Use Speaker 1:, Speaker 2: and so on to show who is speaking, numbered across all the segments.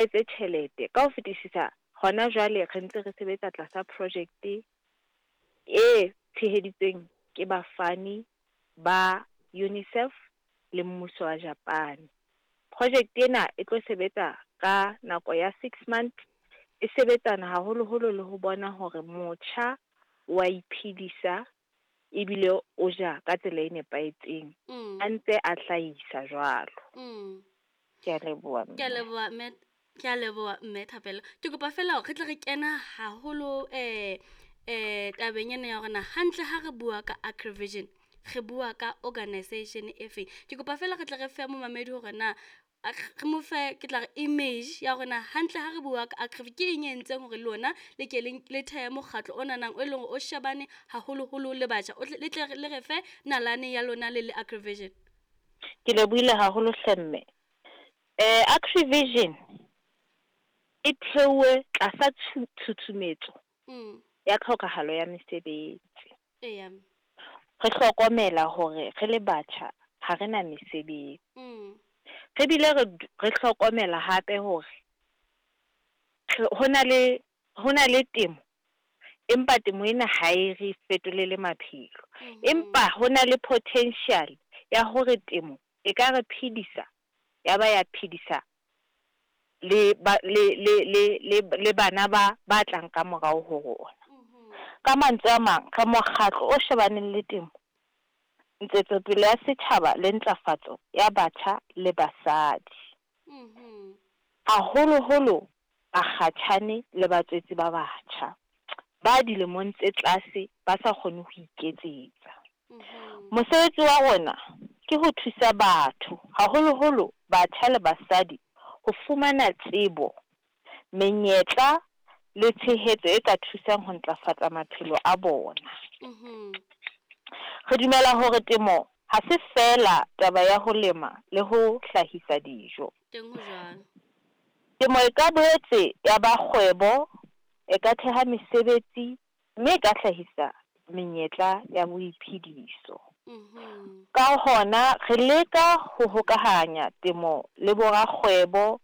Speaker 1: Etse tjhelete. Ka ho fetisisa, hona jwale re ntse re sebetsa tlasa projekte e tsheheditsweng ke bafani ba UNICEF le mmuso wa Japane. Projekte ena e tlo sebetsa ka nako ya 6 months, e sebetsana haholoholo le ho bona hore motjha wa iphedisa ebile o ja ka tsela e nepahetseng, a ntse a hlahisa jwalo. Ke a leboha.
Speaker 2: Ke a leboha, mme. Ke a leboha, mme Thapelo. Ke kopa fela hore re tle re kena haholo tabeng ena ya hore na hantle ha re bua ka Agrivision, re bua ka organization e feng. Ke kopa fela re tle re fe momamedi hore na re mo fe, ke tla re, image ya hore na hantle ha re bua ka Agrivision ke eng e entseng hore lona le ke le thehe mokgatlo o nanang, o leng hore o shebane haholoholo le batjha. O tle le tle le re fe nalane ya lona le le Agrivision.
Speaker 1: Ke lebohile haholo hle, mme. Agrivision e theuwe tlasa tshutshumetso ya tlhokahalo ya mesebetsi. Re hlokomela hore re le batjha ha re na mesebetsi. Re bile re hlokomela hape hore ho na le temo, empa temo ena ha e re fetolele maphelo. Empa ho na le potential ya hore temo e ka re phedisa, ya ba ya phedisa le ba le le le le le bana ba tlang ka morao ho rona. Ka mantswe a mang, re mokgatlo o shebaneng le temo, ntshetsopele ya setjhaba le ntlafatso ya batjha le basadi. Haholoholo bakgatjhane le batswetse ba batjha ba dilemong tse tlase ba sa kgone ho iketsetsa. Mosebetsi wa rona ke ho thusa batho, haholoholo batjha le basadi, ho fumana tsebo, menyetla le tshehetso e ka thusang ho ntlafatsa maphelo a bona. Re dumela hore temo ha se feela taba ya ho lema le ho hlahisa dijo.
Speaker 2: Teng ho jwalo.
Speaker 1: Temo e ka boetse ya ba kgwebo, e ka theha mesebetsi, mme e ka hlahisa menyetla ya boiphediso. Ka hona re leka ho hokahanya temo le borakgwebo,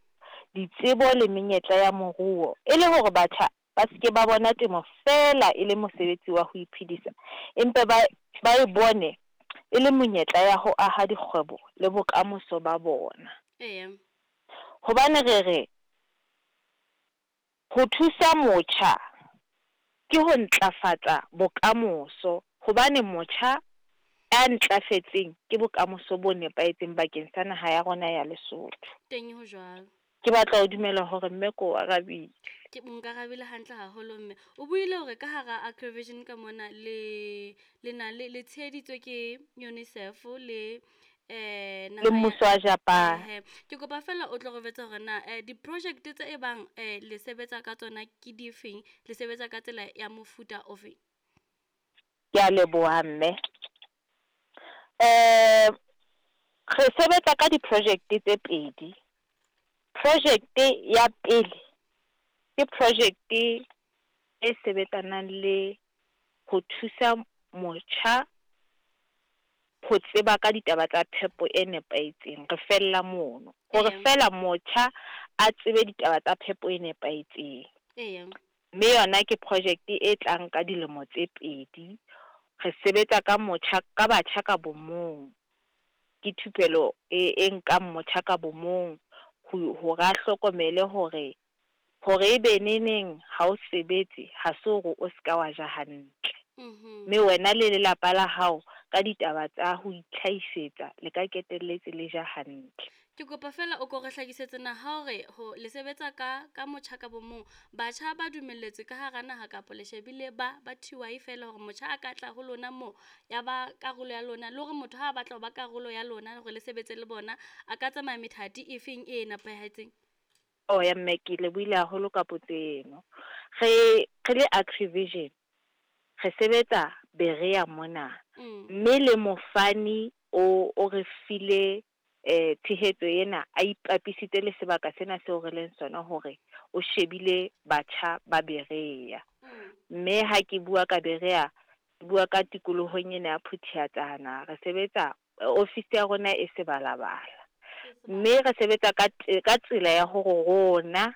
Speaker 1: ditsebo le menyetla ya moruo e le hore batjha ba se ke ba bona temo feela e le mosebetsi wa ho iphedisa, empa ba e bone e le monyetla ya ho aha dikgwebo le bokamoso ba bona. Hobane re re ho thusa motjha ke ho ntlafatsa bokamoso, hobane motjha a ntlafetseng ke bokamoso bo nepahetseng bakeng sa naha ya rona ya Lesotho.
Speaker 2: Teng ho jwalo.
Speaker 1: Ke batla ho dumela hore mme ko o arabile.
Speaker 2: Ke nkarabile hantle haholo, mme. O buile hore ka hara Agrivision ka mona le na le tsheheditswe ke UNICEF le
Speaker 1: Le
Speaker 2: naha ya
Speaker 1: mmuso wa Japan.
Speaker 2: Ehe. Ke kopa fela o tlo re jwetsa hore na di-project tse e bang le sebetsa ka tsona ke difeng, le sebetsa ka tsela ya mofuta ofeng?
Speaker 1: Ke a leboha, mme. Re sebetsa ka di-project tse pedi. Project ya pele ke project e sebetsanang le ho thusa motjha ho tseba ka ditaba tsa phepo e nepahetseng. Re fella mono. Hore feela motjha a tsebe ditaba tsa phepo e nepahetseng. Mme yona ke project e tlang ka dilemo tse 2. Re sebetsa ka motjha, ka batjha ka bomong. Ke thupelo e nkang motjha ka bomong hore a hlokomele hore ebe neneng ha o sebetse ha se hore o ska wa ja hantle. Mme wena le lelapa la hao ka ditaba tsa ho itlhahisetsa le ka ketelletse le ja hantle.
Speaker 2: Ke kopa fela o ko re hlakisetse na ha hore ho le sebetsa ka motjha ka bomong, batjha ba dumelletswe ka hara naha kapa le shebile ba TY fela hore motjha a ka tla ho lona mo ya ba karolo ya lona, le hore motho ha a batla ho ba karolo ya lona hore le sebetse le bona, a ka tsamaya methati e feng e nepahetseng?
Speaker 1: Oh ya mme, ke lebohile haholo ka potso eno. Re le Agrivision re sebetsa Berea mona. Mme le mofani o re file tshehetso ena a ipapisitse le sebaka sena seo re leng sona hore o shebile batjha ba Berea. Mme ha ke bua ka Berea, ke bua ka tikolohong ena ya Phuthiatsana. Re sebetsa, office ya rona e Sebalabala. Mme re sebetsa ka ka tsela ya hore rona.